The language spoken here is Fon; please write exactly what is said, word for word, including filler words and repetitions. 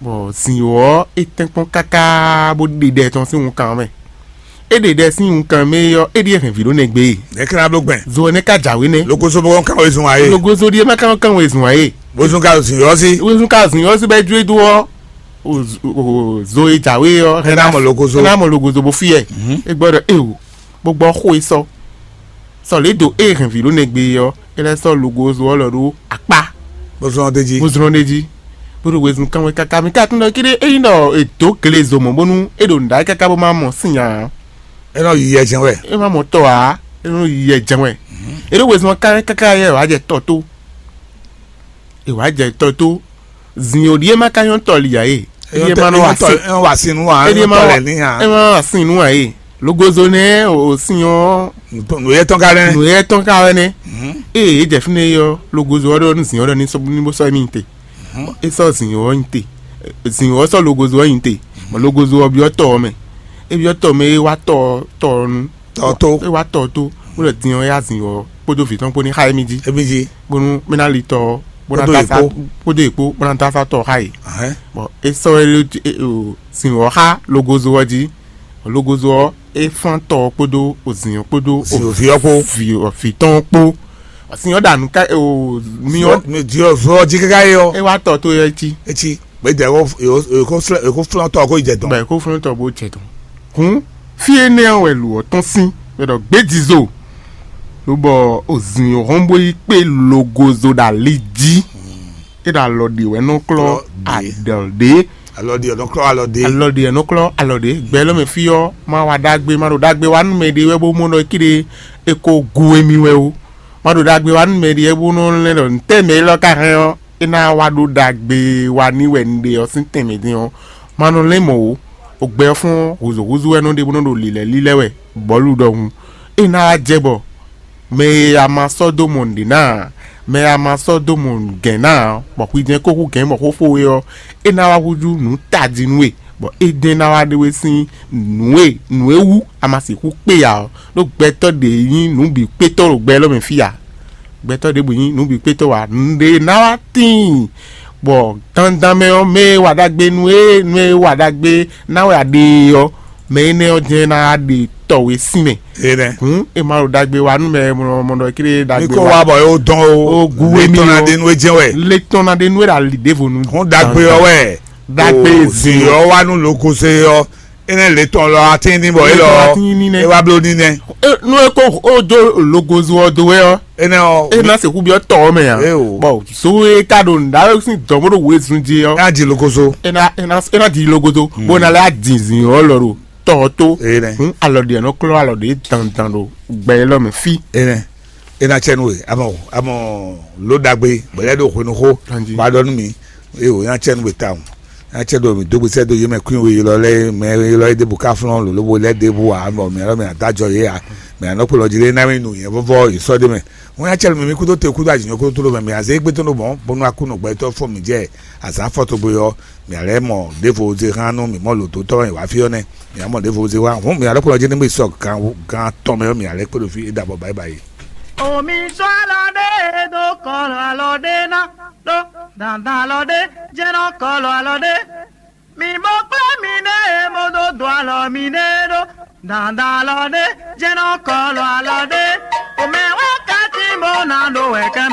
Bɔ zǐn ɔ́, é tɛ́nkpɔ́n káká bó ɖe ɖɛ tɔn sín wunkan mɛ. É ɖe ɖɛ sín wunkan mɛ ɔ́, é ɖíe hɛn vǐ ɖó nɛgbé. Nɛ̌ ka ná bló gbɛn? Zo ɔ́ nɛ́ ka jǎwe nɛ́. Lokoso bó kɔn kán wezun ǎ é. Logozo ɖíe má kán kán wezun ǎ é. Bó zún ká zǐn ɔ́ sí. Wezun ká zǐn ɔ́ sí bɔ é jó é dó ɔ́, o zo e jǎwe ɔ́, é ná mɔ logozo. É ná mɔ logozo bó fí ɛ. É gbɔ ɖɔ é o, bó gbɔ xó e sɔ. Sɔ lě dǒ ée hɛn vǐ ɖó nɛgbé ɔ́, é lɛ́ sɔ́ logozo ɔ́ lɔ ɖó akpá, Bó zɔ́n ɔ́ d'é jí. Bó zlɔ́n ɖ'é jí, bó ɖo wezun kán wɛ káká. Mi ka tunwun ɖɔ kíɖé ényí ɖɔ è dǒ glezo mɔ̌ bónú é ɖo nǔɖaɖi káká bó má mɔ sín ǎ, É nɔ yi yɛ jɛ́n wɛ. É má mɔ tɔ ǎ, é nɔ yi yɛ jɛ́n wɛ. É ɖo wezun ɔ́ kán wɛ káká yɛ wǎ jɛ tɔ tó. È wǎ jɛ tɔ tó. Zin ò ɖíe má ka nyɔ́ tɔ li ǎ e. Éɖíe má nɔ wa sin. É nɔ wa sin nú ǎ. Éɖíe má wa sin nú ǎ e. Logozo nɛ́ o sin ɔ́. Nǔyɛ tɔn ka nɛ́. Nǔyɛ tɔn ka wɛ nɛ́. Ée é jɛ fínɛ́ é ɔ́, logozo ɔ́ ɖɔ nú zin ɔ́ ɖɔ ní sɔ́ ní bó sɔ́ émí te. É sɔ́ zin ɔ́ nyi te. Zin ɔ́ sɔ́ logozo ɔ́ nyi te. Bɔ logozo ɔ́ byɔ́ tɔ ɔ́ mɛ. É byɔ́ tɔ mɛ é wá tɔ tɔ ɔ́ nu. Tɔ tó. É wá tɔ tó, bó lɛ din ɔ́ yá zin ɔ́ kpódó vǐ tɔn kpó ní xá émí jí. Émí jí. Bónú mɛ ná li tɔ ɔ́, bó ná Kpódó dó asá yě kpó. Kpódó yě kpó, bó ná dó asá tɔ ɔ́ xá yě. Ahɛn. Bɔ é sɔ́ é lé é o sin ɔ́ xá logozo ɔ́ jí. Logozo ɔ́, é fán tɔ ɔ́ kpódó o zin ɔ́ kpódó Sin o vǐ ɔ́ kpó. Vǐ ɔ- vǐ tɔn ɔ́ kpó. Sin ɔ́ ɖa nǔ ká o mi ɔ́. Vɔ jí káká é ɔ́. É wá tɔ tó yɛ cí. Etí. Gbɛdɛ èkó flɔ́n tɔ kó yi jɛ dɔn. Bɔ èkó flɔ́n tɔ bó jɛ dɔn. Hǔn fí énɛ́ ɔ́ wɛ lǒ ɔ́ tɔ́n sín, bɔ è ɖɔ gbějizo, lobɔ òzǐn hɔn bó yi kpé logozo ɖo ali jí. É ɖo alɔ ɖě wɛ nɔ klɔ́ Klɔ́ ɖě. Adɔ̌ ɖě. Alɔ ɖi ɔ̀nà klɔ́ alɔ ɖě. Alɔ ɖě wɛ nɔ klɔ́ alɔ ɖě. Gbɛ lɔ mɛ fí ɔ́, má wa ɖagbe, má ɖo ɖagbe wa nú mɛ ɖé wɛ bó mɔ ɖɔ kíɖe é ko gu émí wɛ ó. Má ɖo ɖagbe wa nú mɛ ɖé wɛ bó nɔ lɛ́ ɖɔ ntɛ́ mɛ élɔ́ ka hɛn ɔ́, é ná wá ɖó ɖagbe wa ní wɛ un ɖe ɔ́ sín tɛnmɛ din ɔ́, ma nɔ lɛ́n mɔ̌ ó. Ogbɛ ɔ́ fún ɔ́, hǔzúhúzú wɛ nɔ ɖe bó nɔ ɖo lǐlɛ́ lílɛ́ wɛ bɔ̌lu ɖɔhun. É ná wá jɛ bɔ mɛ e a ma sɔ́ dó mɔ nǔɖé ná ǎ, mɛ e a ma sɔ́ dó mɔ nǔgɛ̌n ná ǎ, bɔ xwi jɛ́n kó hú gɛ̌n bɔ xó fó we ɔ́, é ná wá húzú nǔ tají nú we, bɔ édɛ́ ná wá ɖe we sín nǔ e nǔ e wú a ma sixú kpé ǎ ɔ́, ɖó gbɛtɔ́ ɖě nyí nǔ bǐ kpétɔ́ ɖo gbɛ élɔ́ mɛ fí ǎ. Gbɛtɔ́ ɖěbǔ nyí nǔ bǐ kpétɔ́ ǎ. Nǔɖé ná wá tíin, bɔ dandan mɛ ɔ́, mɛ e wa ɖagbe nú e nú e wa ɖagbe ná wɛ a ɖe e ɔ́, mɛ énɛ́ ɔ́ jɛ́n ná wá ɖe tɔ we sín mɛ. Énɛ́. Hǔn è ma ɖo ɖagbe wa nú mɛ mɔɖɔ kéré Mi ɖagbe kó wa. Wá bɔ yóò dɔn o. O gu Lé wé mi tɔn na o. Ɖe nú e jɛn wɛ. Lé tɔn na ɖe nú e ɖo ali ɖěvo nu. Hǔn ɖagbe ɔ́ wɛ. Ɖagbe O zin ɔ́ wá nú lokoze ɔ́. Énɛ́ lě tɔn lɔ atín ní bɔ é Lě tɔn lɔ. Atín ní nɛ́. É wá bló ní nɛ́. E- nú e ko o dó logozo ɔ́ dó wɛ ɔ́, Énɛ́ ɔ́. E ná sixú byɔ́ tɔ ɔ́ mɛ ǎ. Éo. Bɔ zo e ka ɖo nǔɖaɖo sín dɔ̌n bó ɖo wezun jí ɔ́, É ná ji lokozo. E ná e ná e ná di logodo bó ná lɛ́ adin zǐn ɔ́ lɔ ɖo tɔ ɔ́ tó. Énɛ́. Hǔn alɔ ɖe nɔ klɔ́ alɔ ɖe dandan ɖo gbɛ élɔ́ mɛ fí. Énɛ́. É ná cɛ nú we. Amɔ amɔ ló ɖagbe bɔ lɛ́ ɖo hwenuxó. Anjí. Bá ɖɔ nú mi. Éo, é ná cɛ nú we tawun. Nya cɛ ɖo mǐ dó gbesɛ dó yě mɛ kwín we ylɔ́ lɛ́ɛ mɛ ylɔ́ é ɖěbǔ ká flɔ́n lǒ lóbó lɛ́ ɖěbǔ ǎ, bɔ mǐ alɔ mǐ adó ajɔ yě ǎ. Mǐ anɔ kplɔ́ jí lé ná mì nu nyɛ vɔ́vɔ́ yě sɔ́ ɖé mɛ. Wọ́n nya cɛ mǐ mì kúdó te kúdó ajǐ nyɔ́ kúdó tló mɛ, mǐ azé gbé tó nɔ mɔ̌, bónú akúnɔ gbɛtɔ́ fɔ mǐ jɛ azǎn fɔ togbe ɔ́, mǐ alɛ mɔ ɖěvo zé hán nú mǐ mɔ lǒ dó tɔ́ wá fí ɔ́ nɛ́. Mǐ amɔ ɖěvo zé wá hǔn mǐ alɔ kplɔ́ jí ní mì sɔ gan gan tɔn mɛ ɔ́, mǐ alɛ kpé ɖo fí é ɖo abɔ báyìí báyìí. Omi sɔ́ alɔ ɖé do kɔlɔ alɔ ɖé ná ɖó dandan alɔ ɖé jɛ́nɔ kɔlɔ alɔ ɖé. Mi bó kplé mi ɖé e bó dó do alɔ mi ɖé ɖó dandan alɔ ɖé jɛ́nɔ kɔlɔ alɔ ɖé. Omɛ wɛ kati bó ná ɖó wɛ kɛmɛ.